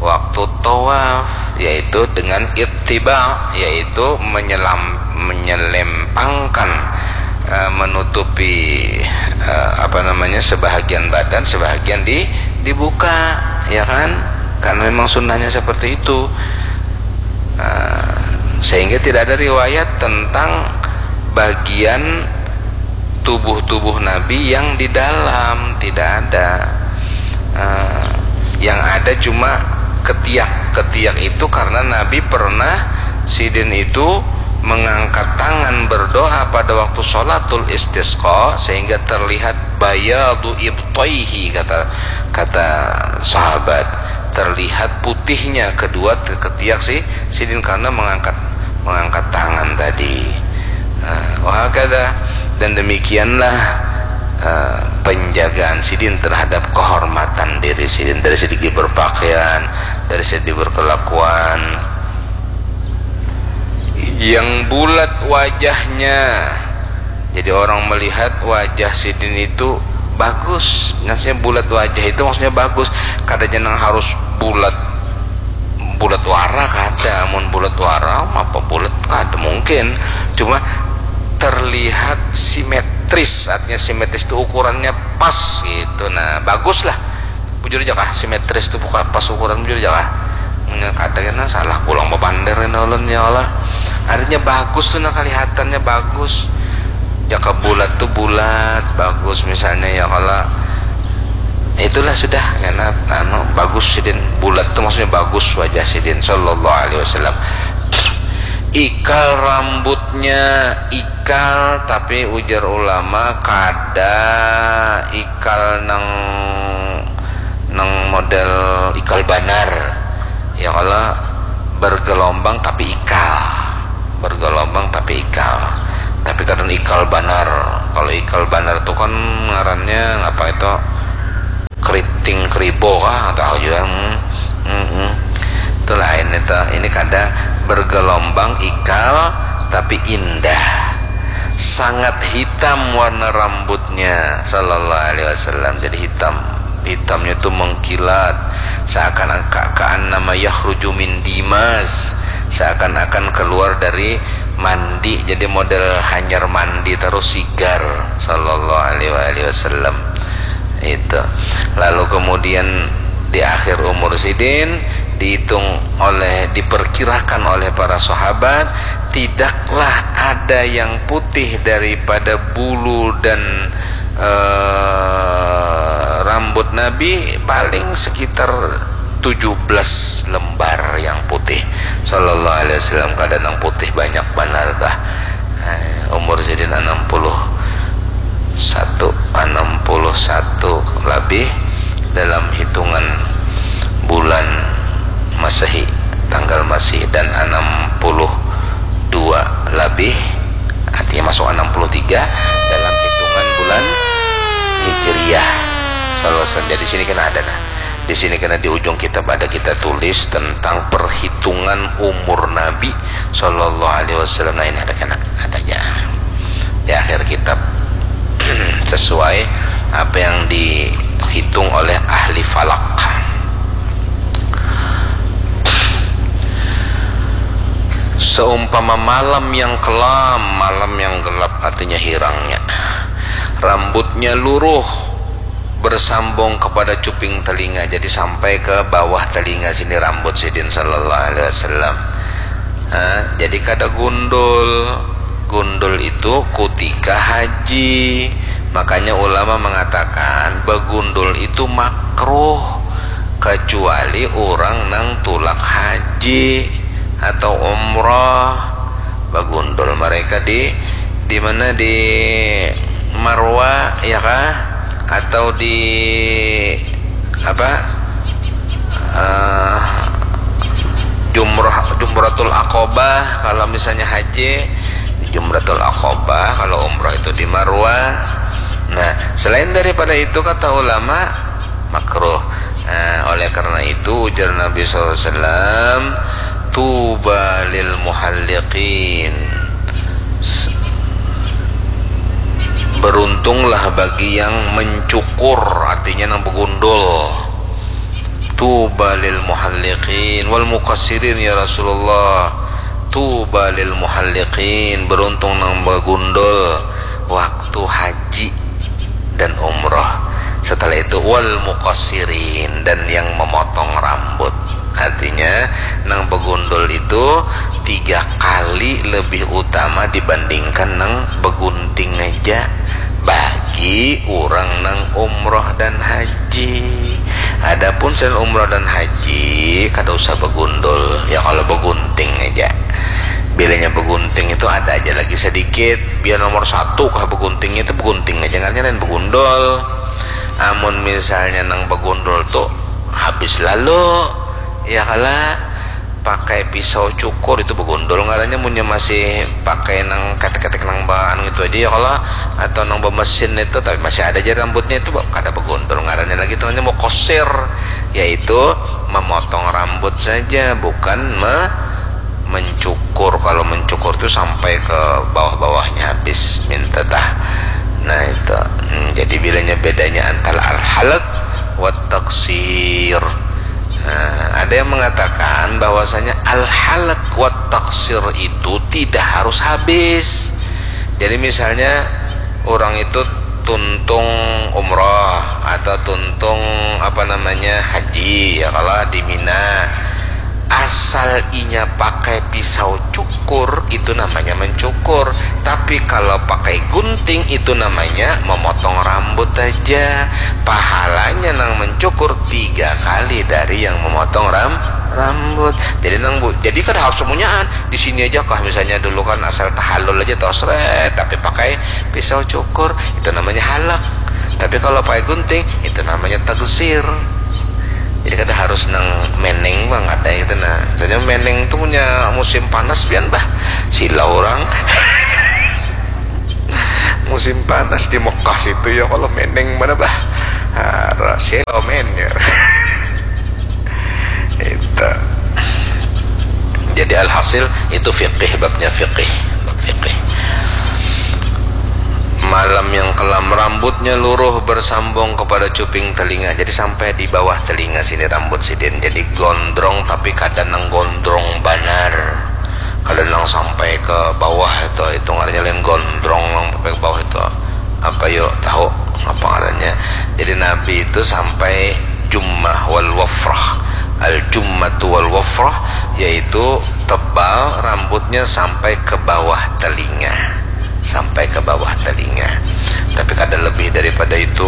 waktu tawaf, yaitu dengan ittiba, yaitu menyelam, menyelempangkan, eh, menutupi, eh, apa namanya, sebahagian badan, sebahagian di, dibuka, ya kan? Karena memang sunnahnya seperti itu. Eh, sehingga tidak ada riwayat tentang bagian tubuh-tubuh Nabi yang di dalam, tidak ada. Eh, yang ada cuma ketiak. Ketiak itu karena Nabi pernah, sidin itu mengangkat tangan berdoa pada waktu sholatul istisqa, sehingga terlihat bayadu ibtaihi, kata, kata sahabat, terlihat putihnya kedua te-, ketiak si sidin karena mengangkat, mengangkat tangan tadi. Nah, wahakada. Dan demikianlah eh, penjagaan sidin terhadap kehormatan diri sidin, dari segi berpakaian, dari segi berkelakuan. Yang bulat wajahnya, jadi orang melihat wajah sidin itu bagus. Maksudnya bulat wajah itu maksudnya bagus. Kada jangan harus bulat, bulat wara kada. Mun bulat wara, apa bulat kada mungkin. Cuma terlihat simetris, artinya simetris itu ukurannya pas gitu. Nah, bagus lah. Bujur aja kah, simetris itu bukan pas ukuran, bujur aja kah? Nya kada kena salah pulang bepander kena ulun, ya Allah. Artinya bagus tuh, nah, kelihatannya bagus. Jaka bulat tuh bulat, bagus misalnya, ya kalau itulah sudah kena anu, bagus sidin, bulat tuh maksudnya bagus wajah sidin sallallahu alaihi wasallam. Ikal rambutnya ikal, tapi ujar ulama kada ikal nang, nang model ikal banar. Ya kalau bergelombang tapi ikal, bergelombang tapi ikal, tapi kadang ikal banar. Kalau ikal banar tuh kan ngarannya apa itu, keriting keribo kah, tahu juga. Hmm. Hmm, hmm. Itu lain itu. Ini kada bergelombang ikal tapi indah. Sangat hitam warna rambutnya, sallallahu alaihi wasallam. Jadi hitam, hitamnya tuh mengkilat, seakan ka, ka'annama yakhruju min dimas, seakan-akan keluar dari mandi. Jadi model hanyar mandi terus sigar, sallallahu alaihi wasallam. Itu. Lalu kemudian di akhir umur sidin dihitung oleh, diperkirakan oleh para sahabat, tidaklah ada yang putih daripada bulu dan eh, rambut Nabi paling sekitar tujuh belas lembar yang putih, sallallahu alaihi wasallam. Kada nang putih banyak banar dah. Eh, umur sidin enam puluh satu, enam puluh satu lebih dalam hitungan bulan Masehi, tanggal Masehi, dan enam puluh dua lebih, artinya masuk enam puluh tiga dalam hitungan bulan Hijriah. Sallallahu alaihi wasallam. Jadi sini kena ada nah. Di sini kena di ujung kitab ada kita tulis tentang perhitungan umur Nabi sallallahu alaihi wasallam. Nah, ini ada kena, ada aja di akhir kitab. Sesuai apa yang dihitung oleh ahli falak. Seumpama malam yang kelam, malam yang gelap artinya hirangnya. Rambutnya luruh bersambung kepada cuping telinga, jadi sampai ke bawah telinga sini rambut sidin sallallahu alaihi wasallam. Ha, jadi kada gundul. Gundul itu kutika haji. Makanya ulama mengatakan begundul itu makruh kecuali orang nang tulak haji atau umrah. Begundul mereka di, di mana, di Marwa ya kah, atau di apa, eh, jumrah, jumratul aqabah. Kalau misalnya haji di jumratul aqabah, kalau umrah itu di Marwa. Nah, selain daripada itu kata ulama makruh. Nah, oleh karena itu ujar Nabi sallallahu alaihi wasallam, tuba lil muhalliqin, beruntunglah bagi yang mencukur, artinya nang begundul. Tuba lil muhalliqin wal muqassirin ya Rasulullah. Tuba lil muhalliqin, beruntung nang begundul waktu haji dan umrah. Setelah itu wal muqassirin, dan yang memotong rambut. Artinya nang begundul itu tiga kali lebih utama dibandingkan nang begunting aja bagi orang nang umroh dan haji. Adapun selain umroh dan haji kada usah begundul ya, kalau begunting aja. Bilanya begunting itu ada aja lagi sedikit, biar nomor satu kah beguntingnya, itu begunting aja, ngaranya lain begundul. Amun misalnya nang begundul tuh habis lalu, ya kala, pakai pisau cukur itu begundul ngarannya. Munnya masih pakai nang ketek-ketek nang ba anu itu aja ya kala, atau nang bemesin itu, tapi masih ada aja rambutnya, itu kada begundul ngarannya lagi, itu namanya mukosir, yaitu memotong rambut saja, bukan me mencukur. Kalau mencukur tuh sampai ke bawah-bawahnya habis, minta tah. Nah itu. Hmm, jadi bilanya bedanya antara al-halak wat taksir. Nah, ada yang mengatakan bahwasanya al-halak wat taksir itu tidak harus habis. Jadi misalnya orang itu tuntung umroh atau tuntung apa namanya haji ya, kalau di Mina, asal inya pakai pisau cukur itu namanya mencukur, tapi kalau pakai gunting itu namanya memotong rambut aja. Pahalanya nang mencukur tiga kali dari yang memotong ram rambut. Jadi nang bu jadi kada harus semunyaan. Di sini aja kah misalnya dulu kan asal tahallul aja toh sret, tapi pakai pisau cukur itu namanya halak. Tapi kalau pakai gunting itu namanya taksir. Jadi kada harus nang meneng banget ya gitu nah. Jadi meneng tuh punya musim panas pian bah. Silau orang. Musim panas di Mekah situ ya kalau meneng mana bah. Silau men ya. Itu. Jadi alhasil itu fikih, babnya fikih, bab fikih. Malam yang kelam, rambutnya luruh bersambung kepada cuping telinga. Jadi sampai di bawah telinga sini rambut sidin. Jadi gondrong tapi kada nang gondrong banar. Kada nang sampai ke bawah itu, itu ngarannya lain gondrong nang sampai ke bawah itu. Apa yuk tahu apa ngarannya? Jadi Nabi itu sampai jummah wal wafrah. Al jummatu wal wafrah yaitu tebal rambutnya sampai ke bawah telinga, sampai ke bawah telinga, tapi kada lebih daripada itu.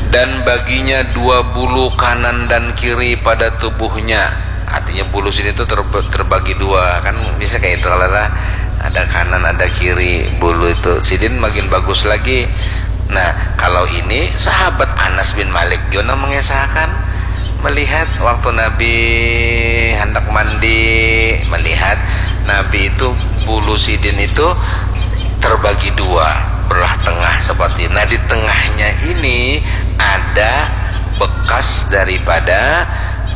Dan baginya dua bulu kanan dan kiri pada tubuhnya. Artinya bulu sini tuh ter- terbagi dua, kan bisa kayak itu kalau lah, ada kanan ada kiri bulu itu. Sidin makin bagus lagi. Nah, kalau ini sahabat Anas bin Malik juga mengisahkan melihat waktu Nabi hendak mandi, melihat Nabi itu bulu sidin itu terbagi dua, belah tengah seperti. Nah, di tengahnya ini ada bekas daripada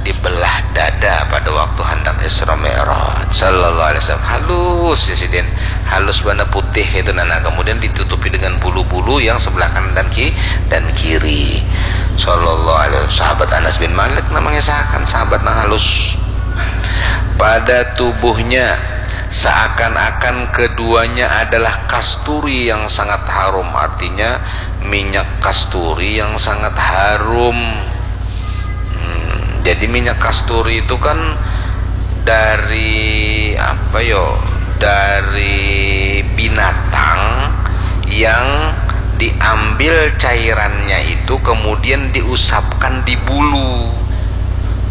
dibelah dada pada waktu hendak Isra Mi'raj. Sallallahu alaihi wasallam. Halus ya sidin. Halus bana putih itu nah. Nah, kemudian ditutupi dengan bulu-bulu yang sebelah kanan dan ki dan kiri. Sallallahu alaihi wasallam. Sahabat Anas bin Malik namanya sahakan sahabat nang halus. Pada tubuhnya seakan-akan keduanya adalah kasturi yang sangat harum, artinya minyak kasturi yang sangat harum. Hmm, jadi minyak kasturi itu kan dari apa yo? Dari binatang yang diambil cairannya itu kemudian diusapkan di bulu.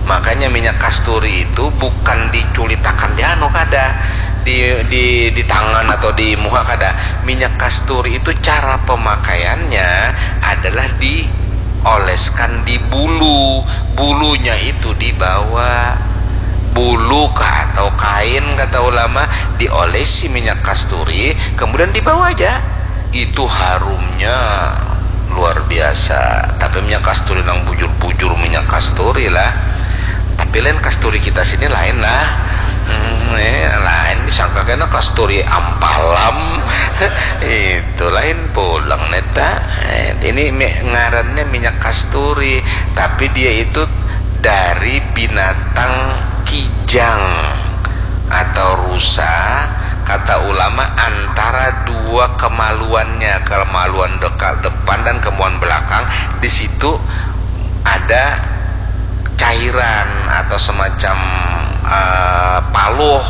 Makanya minyak kasturi itu bukan diculitakan di anu kada, di di di tangan atau di muka kada. Minyak kasturi itu cara pemakaiannya adalah dioleskan di bulu. Bulunya itu dibawa bulu kah atau kain kata ulama diolesi minyak kasturi kemudian dibawa aja. Itu harumnya luar biasa. Tapi minyak kasturi nang bujur-bujur minyak kasturi lah. Tapi lain kasturi kita sini lain lah. Hmm, eh, lain disangka kena kasturi ampalam. Itu lain pulang neta. Eh, ini ngarannya minyak kasturi, tapi dia itu dari binatang kijang atau rusa, kata ulama, antara dua kemaluannya, kemaluan depan dan kemaluan belakang. Di situ ada cairan atau semacam uh, paluh.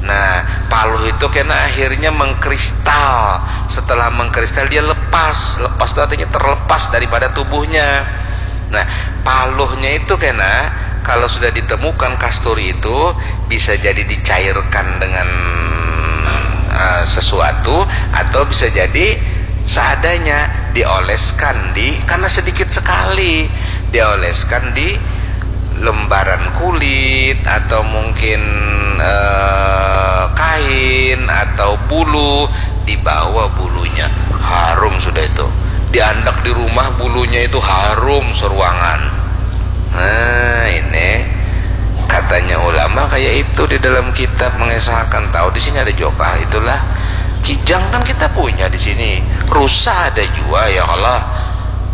Nah, paluh itu kena akhirnya mengkristal. Setelah mengkristal dia lepas. Lepas itu artinya terlepas daripada tubuhnya. Nah, paluhnya itu kena kalau sudah ditemukan kasturi itu bisa jadi dicairkan dengan uh, sesuatu atau bisa jadi seadanya dioleskan di karena sedikit sekali dioleskan di lembaran kulit atau mungkin eh, kain atau bulu dibawa bulunya harum sudah itu diandak di rumah bulunya itu harum seruangan. Nah, ini katanya ulama kayak itu di dalam kitab mengisahkan tahu di sini ada jokah itulah kijang kan kita punya di sini rusa ada juga ya kalau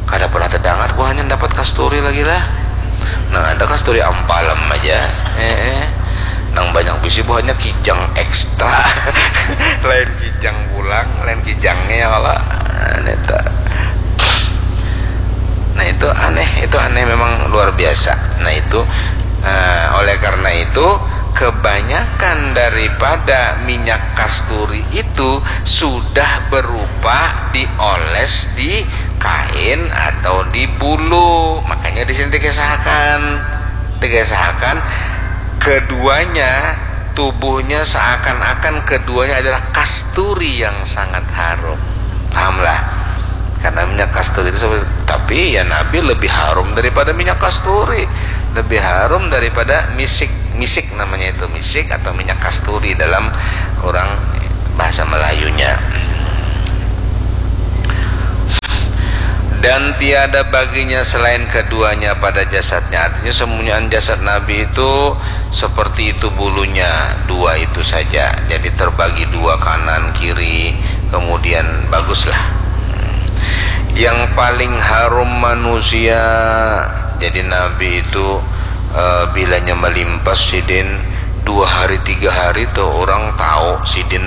kada pernah terdengar buahnya dapat kasturi lagi lah. Nah ada kasturi ampalem aja eh, eh. Nang banyak bisi buahnya kijang ekstra lain kijang pulang lain kijangnya ya kalau nah, Nah itu aneh, itu aneh memang luar biasa. Nah itu uh, oleh karena itu kebanyakan daripada minyak kasturi itu sudah berupa dioles di kain atau di bulu. Makanya di sini dikisahkan, dikisahkan keduanya tubuhnya seakan-akan keduanya adalah kasturi yang sangat harum. Pahamlah? Karena minyak kasturi itu seperti Tapi ya Nabi lebih harum daripada minyak kasturi, lebih harum daripada misik. Misik namanya itu, misik atau minyak kasturi dalam orang bahasa Melayunya. Dan tiada baginya selain keduanya pada jasadnya. Artinya, sembunyian jasad Nabi itu seperti itu bulunya, dua itu saja. Jadi terbagi dua, kanan kiri, kemudian baguslah. Yang paling harum manusia, jadi Nabi itu, eh, bilanya melimpas sidin dua hari tiga hari tuh orang tahu sidin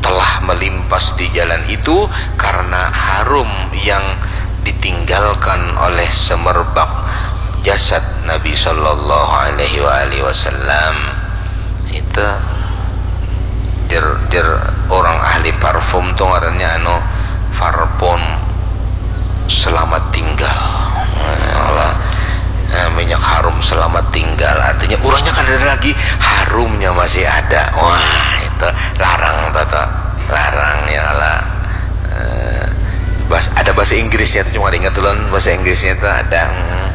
telah melimpas di jalan itu karena harum yang ditinggalkan oleh semerbak jasad Nabi Shallallahu Alaihi Wasallam. Itu jer jer orang ahli parfum tuh ngarannya anu parfum selamat tinggal. Nah, minyak harum selamat tinggal, artinya urangnya kada ada lagi, harumnya masih ada. Wah, itu larang tuh, tuh. Larang ya lah. Eh, ada bahasa Inggrisnya tuh, cuma ingat tuh bahasa Inggrisnya tuh ada. Hmm.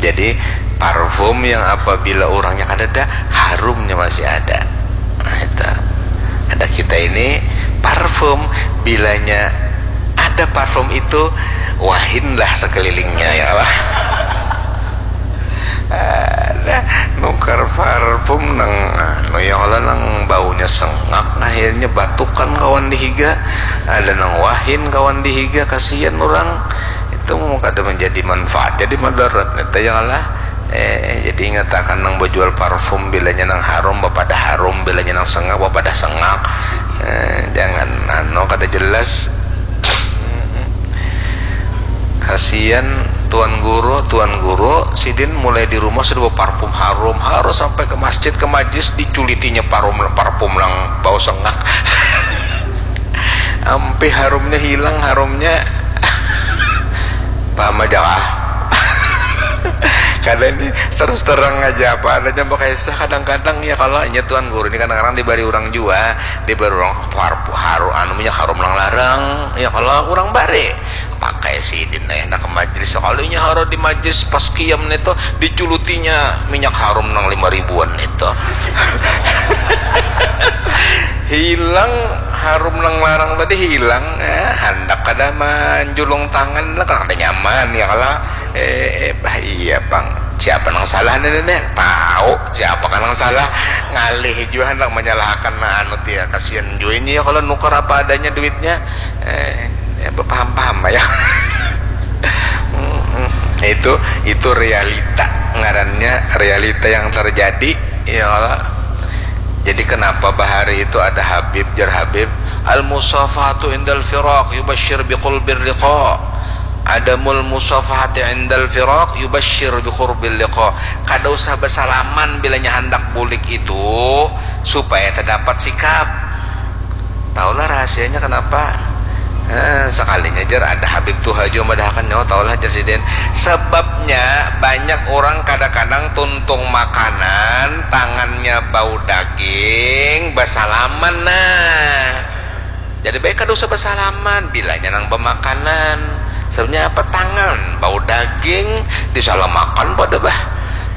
Jadi parfum yang apabila urangnya kada ada, harumnya masih ada. Nah, itu. Ada kita ini parfum, bilanya ada parfum itu, wahinlah sekelilingnya ya lah. Ada nukar parfum nang anu ya Allah, nang baunya sengak, akhirnya batukan kawan dihiga, ada nang wahin kawan dihiga, kasihan orang itu mau kada menjadi manfaat jadi madarat neta ya Allah. Eh, jadi ingatakan nang bajual parfum bilanya nang harum bapadah harum, bilanya nang sengak bapadah sengak. Eh, jangan anu kada jelas. Kasian tuan guru, tuan guru sidin mulai di rumah sudah baparfum harum, harus sampai ke masjid ke majlis diculitinya parum parfum lang bau sengak. Ampe harumnya hilang, harumnya paham aja kah? Kada ini terus terang aja apa adanya, bakisah kadang-kadang ya kalau inya tuan guru ini kadang-kadang dibari orang jua, dibari orang harum anu minyak harum lang larang ya kalau orang bari pakai sidin eh nak ke majlis, sekalinya haro di majlis pas kiam nih tuh diculutinya minyak harum nang lima ribuan itu. Hilang harum nang larang tadi hilang, eh, handak kada manjulung tangan lah kada nyaman ya kalau eh, eh bah iya pang siapa nang salah nih nih tahu siapa kan nang salah, ngalih jua handak menyalahkan nah anu ya kasihan jua ini ya kalau nukar apa adanya duitnya. Eh, ya, paham-paham ya. Itu itu realita ngarannya, realita yang terjadi ya Allah. Jadi kenapa bahari itu ada Habib, jar Habib, al musafahatu indal firaq yubashir biqulbir liqa, adamul musafahati indal firaq yubashir biqurbil liqa. Kada usah bersalaman bilanya handak bulik itu supaya terdapat sikap. Tahulah rahasianya kenapa. Eh, sekalinya jar ada Habib tuha jua madahakan nyawa, tahulah jar sidin. Sebabnya banyak orang kadang-kadang tuntung makanan tangannya bau daging basalaman nah. Jadi baik kada usah basalaman bilanya nang bamakanan. Sebabnya apa tangan bau daging disalamakan pada bah.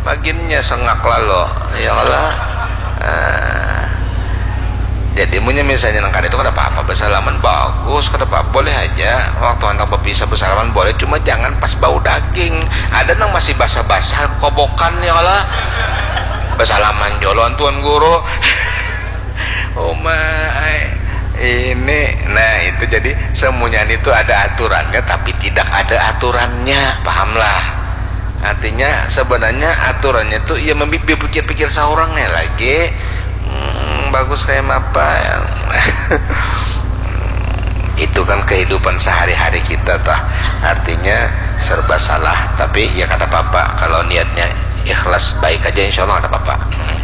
Maginnya sengak lalu ya kalau. Ah. Jadi munnya misalnya nang kada itu kada apa-apa bersalaman bagus kada apa-apa boleh aja waktu hendak berpisah bersalaman boleh cuma jangan pas bau daging ada nang masih basah-basah kobokan ya kalau bersalaman joloan tuan guru. Uma ini nah itu jadi semuanya itu ada aturannya tapi tidak ada aturannya pahamlah. Artinya sebenarnya aturannya tuh ya memikir-pikir seorangnya lagi hmm, bagus kayak apa yang itu kan kehidupan sehari-hari kita tah artinya serba salah tapi ya kada apa-apa kalau niatnya ikhlas baik aja insya Allah kada apa-apa hmm.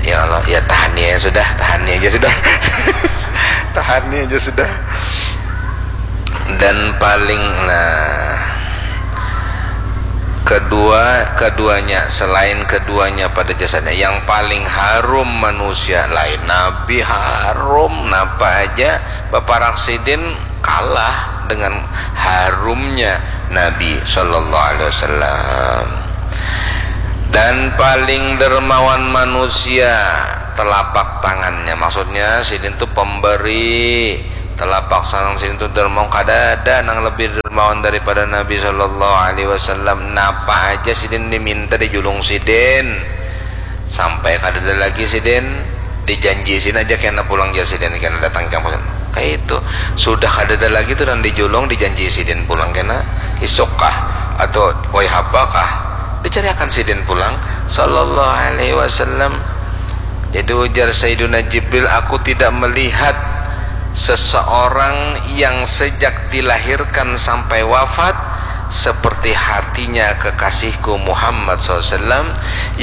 Ya Allah ya tahan ya sudah tahan aja sudah tahan aja sudah dan paling nah kedua keduanya selain keduanya pada jasanya yang paling harum manusia lain nabi harum napa aja baparak sidin kalah dengan harumnya Nabi sallallahu alaihi wasallam. Dan paling dermawan manusia telapak tangannya, maksudnya sidin tu pemberi, telapak tangan sidin tu dermawan, kada ada nang lebih dermawan daripada Nabi sallallahu alaihi wasallam. Napa aja sidin diminta dijulung sidin, sampai kadada lagi sidin, dijanji sidin aja kena pulang jar sidin, kena datang ikam pulang. Kaya itu, sudah kadada lagi tu nang dijulung, dijanji sidin pulang kena isuk kah atau poy hapa kah, dicariakan sidin pulang sallallahu alaihi wasallam. Jadi ujar Sayyiduna Jibril, aku tidak melihat seseorang yang sejak dilahirkan sampai wafat seperti hatinya kekasihku Muhammad sallallahu alaihi wasallam,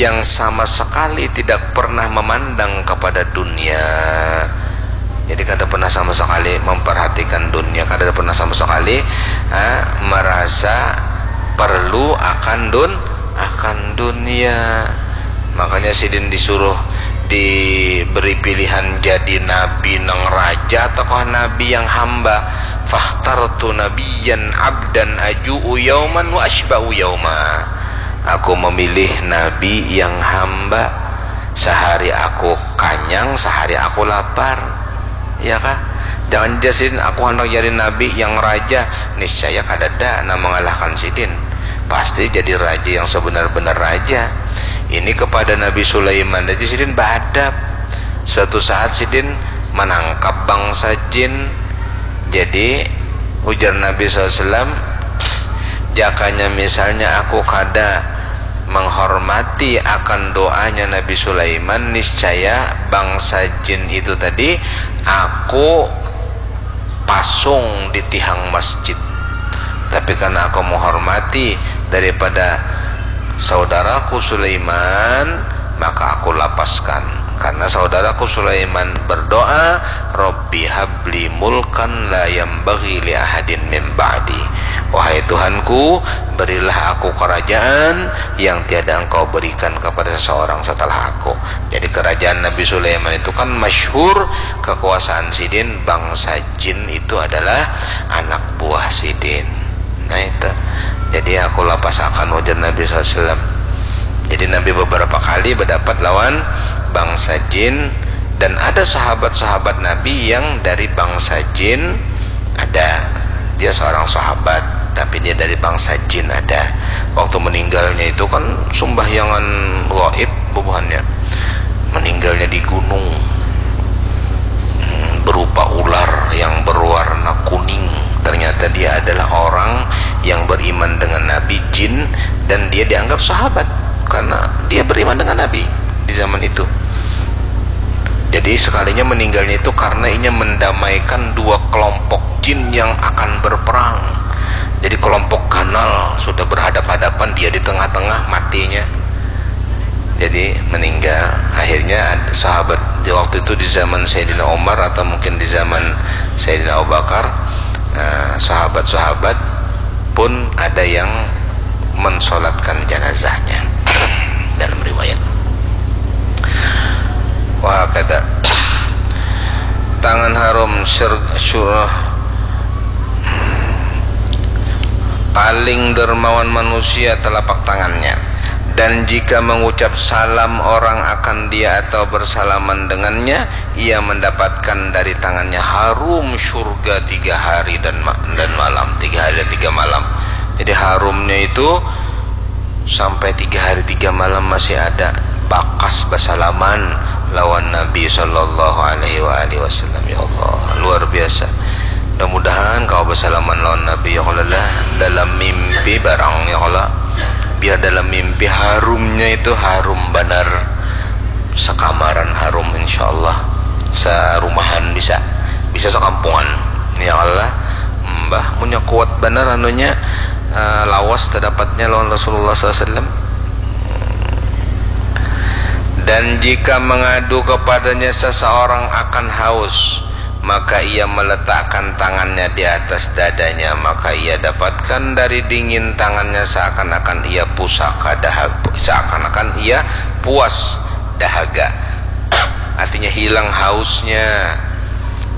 yang sama sekali tidak pernah memandang kepada dunia. Jadi kada pernah sama sekali memperhatikan dunia, kada pernah sama sekali, ah, merasa perlu akan dun akan dunia. Makanya sidin disuruh diberi pilihan jadi nabi nang raja ataukah nabi yang hamba. Fakhtartu nabiyan abdan aju'u yauman wa asyba'u yauma. Aku memilih nabi yang hamba. Sehari aku kanyang, sehari aku lapar. Ya kah? Jangan ja sidin, aku handak jadi nabi yang raja. Niscaya kadada nang mengalahkan sidin. Pasti jadi raja yang sebenar-benar raja. Ini kepada Nabi Sulaiman aja sidin beadab. Suatu saat sidin menangkap bangsa jin. Jadi ujar Nabi sallallahu alaihi wasallam, jakanya misalnya aku kada menghormati akan doanya Nabi Sulaiman, niscaya bangsa jin itu tadi aku pasung di tihang masjid. Tapi karena aku menghormati daripada saudaraku Sulaiman, maka aku lapaskan. Karena saudaraku Sulaiman berdoa, Rabbi habli mulkan la yambaghi li ahadin min ba'di. Wahai Tuhanku, berilah aku kerajaan yang tiada Engkau berikan kepada seseorang setelah aku. Jadi kerajaan Nabi Sulaiman itu kan masyhur, kekuasaan sidin, bangsa jin itu adalah anak buah sidin. Nah itu. Jadi aku lapasakan, ujar Nabi sallallahu alaihi wasallam. Jadi Nabi beberapa kali berdapat lawan bangsa jin, dan ada sahabat-sahabat Nabi yang dari bangsa jin, ada. Dia seorang sahabat, tapi dia dari bangsa jin, ada. Waktu meninggalnya itu kan sembahyangan gaib bubuhannya. Meninggalnya di gunung, hmm, berupa ular yang berwarna kuning. Ternyata dia adalah orang yang beriman dengan Nabi, jin, dan dia dianggap sahabat karena dia beriman dengan Nabi di zaman itu. Jadi sekalinya meninggalnya itu karena inya mendamaikan dua kelompok jin yang akan berperang. Jadi kelompok ganal sudah berhadap-hadapan, dia di tengah-tengah, matinya. Jadi meninggal. Akhirnya ad-, sahabat di waktu itu, di zaman Sayyidina Umar atau mungkin di zaman Sayyidina Abu Bakar, eh, sahabat-sahabat pun ada yang mensolatkan jenazahnya dalam riwayat. Wa hakadha. Tangan harum syur-, syurah. Paling dermawan manusia telapak tangannya, dan jika mengucap salam orang akan dia atau bersalaman dengannya, ia mendapatkan dari tangannya harum surga tiga hari dan ma-, dan malam, tiga hari dan tiga malam. Jadi harumnya itu sampai tiga hari tiga malam masih ada bakas basalaman lawan Nabi sallallahu alaihi wa alihi wasallam. Ya Allah, luar biasa. Mudah-mudahan kawa basalaman lawan Nabi, ya Allah, lah, dalam mimpi barang, ya Allah. Biar dalam mimpi harumnya itu harum banar. Sakamaran harum, insyaallah. Sarumahan bisa. Bisa sakampungan. Ya Allah. Mbah, munnya kuat banar anunya, eh, lawas tadapatnya lawan Rasulullah sallallahu alaihi wasallam. Dan jika mengadu kepadanya seseorang akan haus, maka ia meletakkan tangannya di atas dadanya, maka ia dapatkan dari dingin tangannya seakan-akan ia pusaka dahaga, seakan-akan ia puas dahaga. Artinya hilang hausnya.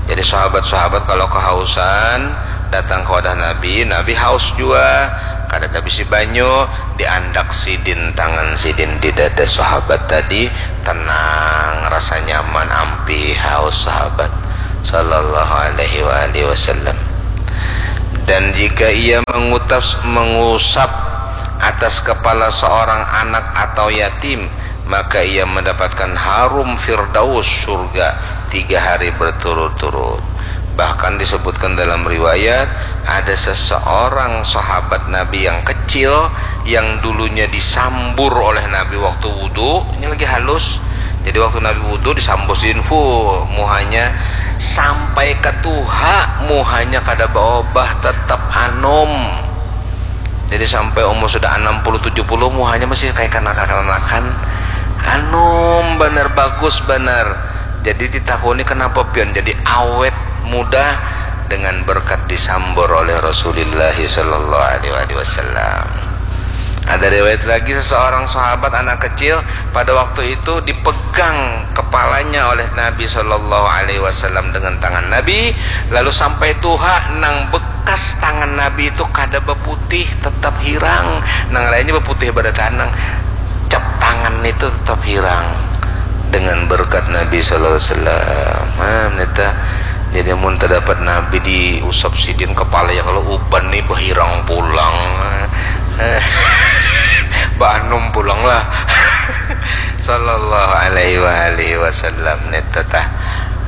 Jadi sahabat-sahabat kalau kehausan, datang ka wadah Nabi, Nabi haus jua, kadada bisi banyu, diandak sidin tangan sidin di dada sahabat tadi, tenang, rasa nyaman, ampih haus sahabat sallallahu alaihi wa alihi wasallam. Dan jika ia mengutas, mengusap atas kepala seorang anak atau yatim, maka ia mendapatkan harum firdaus surga tiga hari berturut-turut. Bahkan disebutkan dalam riwayat, ada seseorang sahabat Nabi yang kecil yang dulunya disambur oleh Nabi waktu wudhu, ini lagi halus. Jadi waktu Nabi wudhu disambur sidin full muhanya sampai ketuha, muhanya kada baobah, tetap anom. Jadi sampai umur sudah enam puluh tujuh puluh muhanya masih kayak kanakan-kanakan. Anom banar, bagus banar. Jadi ditakuni kenapa pian jadi awet muda dengan berkat disambur oleh Rasulullah sallallahu alaihi wasallam. Ada riwayat lagi seseorang sahabat anak kecil pada waktu itu dipegang kepalanya oleh Nabi sallallahu alaihi wasallam dengan tangan Nabi, lalu sampai tuha nang bekas tangan Nabi itu kada beputih, tetap hirang. Nang lainnya beputih pada tanang, cap tangan itu tetap hirang dengan berkat Nabi sallallahu alaihi wasallam. Nah, neta. Jadi mun terdapat Nabi diusap sidin kepala ya kalau uban nih berhirang pulang. Baanum pulang lah. Sallallahu alaihi wa alihi wasallam neta tah.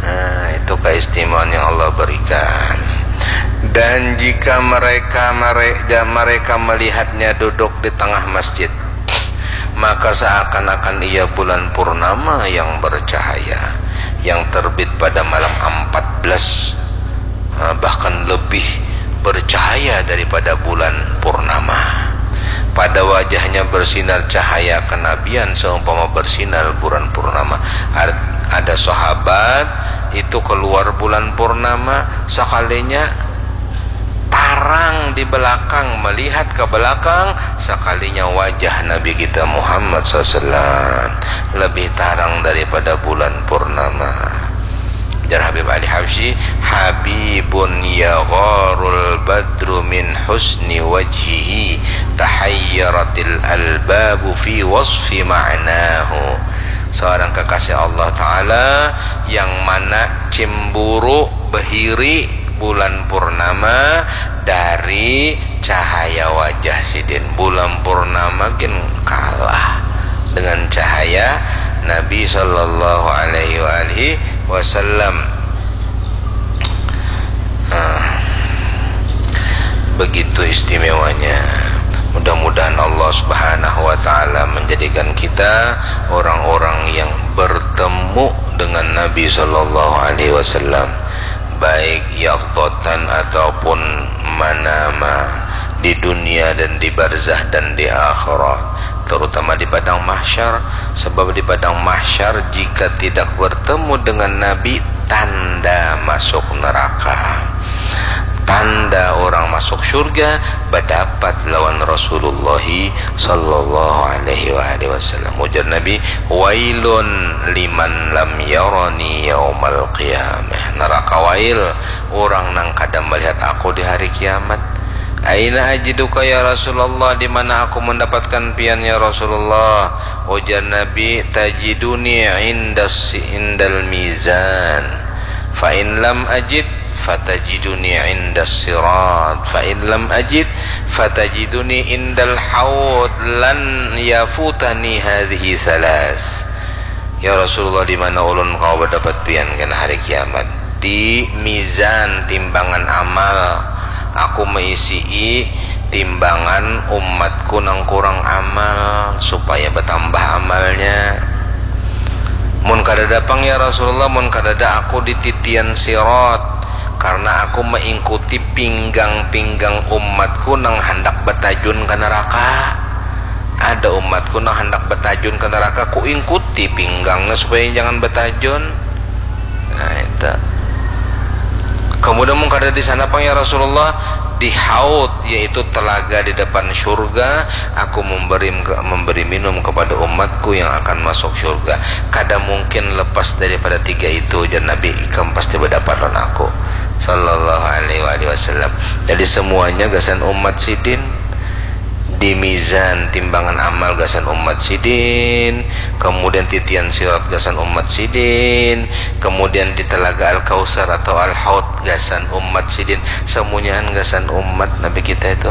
Nah, itu keistimewaan yang Allah berikan. Dan jika mereka mereka mereka melihatnya duduk di tengah masjid, maka seakan-akan ia bulan purnama yang bercahaya, yang terbit pada malam empat belas, eh, bahkan lebih bercahaya daripada bulan purnama. Pada wajahnya bersinar cahaya kenabian seumpama bersinar bulan purnama. Ar-, ada sahabat itu keluar bulan purnama, sekalinya tarang di belakang, melihat ke belakang, sekalinya wajah Nabi kita Muhammad sallallahu alaihi wasallam lebih tarang daripada bulan purnama. Jar Habib Ali Habsyi, "Habibun yagharul badru min husni wajhihi, tahayyaratil albabu fi wasfi ma'nahu." Seorang kekasih Allah Ta'ala yang mana cemburu, behiri bulan purnama dari cahaya wajah sidin. Bulan purnama gin kalah dengan cahaya Nabi sallallahu alaihi wa alihi wasallam. Nah, begitu istimewanya. Mudah-mudahan Allah Subhanahu wa Ta'ala menjadikan kita orang-orang yang bertemu dengan Nabi sallallahu alaihi wasallam, baik yaqzatan ataupun manama, di dunia dan di barzah dan di akhirat, terutama di padang mahsyar. Sebab di padang mahsyar, jika tidak bertemu dengan Nabi, tanda masuk neraka, tanda orang masuk surga, berdapat lawan Rasulullah sallallahu alaihi wa alihi wasallam. Ujar Nabi, "Wailun liman lam yarani yaumal qiyamah." Neraka wail orang nang kada melihat aku di hari kiamat. "Aina ajiduka ya Rasulullah, di mana aku mendapatkan pian ya Rasulullah?" Ujar Nabi, "Tajiduni indas, indal mizan. Fa in lam ajid, fatajiduni indas sirat. Fa in lam ajid, fatajiduni indal haud. Lan yafutani hadhihi salas." Ya Rasulullah, di mana ulun kawa berdapat pian kena hari kiamat? Di mizan, timbangan amal. Aku meisii timbangan umatku nang kurang amal supaya bertambah amalnya. Mun kadada pang ya Rasulullah, mun kadada aku di titian sirat, karena aku mengikuti pinggang-pinggang umatku nang handak batajun ke neraka. Ada umatku nang handak batajun ke neraka, ku ingkuti pinggangnya supaya jangan batajun. Nah, itu. Kemudian mun kada di sana pang ya Rasulullah, di haud, yaitu telaga di depan surga, aku memberi, memberi minum kepada umatku yang akan masuk surga. Kada mungkin lepas daripada tiga itu, jar Nabi, ikam pasti berdapat lawan aku. Sallallahu alaihi wa alihi wasallam. Jadi semuanya gasan umat sidin, di mizan timbangan amal gasan umat sidin, kemudian titian sirat gasan umat sidin, kemudian di telaga Al-Kausar atau Al-Haud gasan umat sidin, semunyaan gasan umat Nabi kita itu.